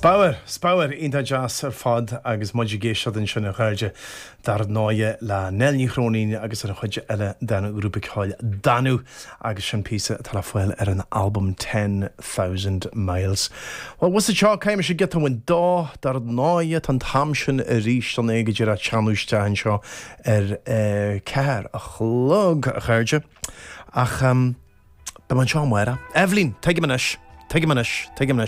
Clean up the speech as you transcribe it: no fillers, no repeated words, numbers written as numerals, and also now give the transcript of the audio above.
Spiorad, spiorad iontach deas ar fad agus muid ag éisteacht ansin a chairde dar ndóighe le Nell Ní Chróinín agus an chuid eile den ghrúpa ceoil Danú agus sin píosa atá le fáil ar an albam 10,000 Miles. Bhuel, bhfuil a fhios agat seo, caithfidh mise giota amháin dó, dar ndóighe tá an t-am sin arís chun é go díreach teannadh isteach anseo ar 4 a chlog, a chairde. Ach beidh mé anseo amárach. Eibhlín, tuigim anois, tuigim anois, tuigim anois.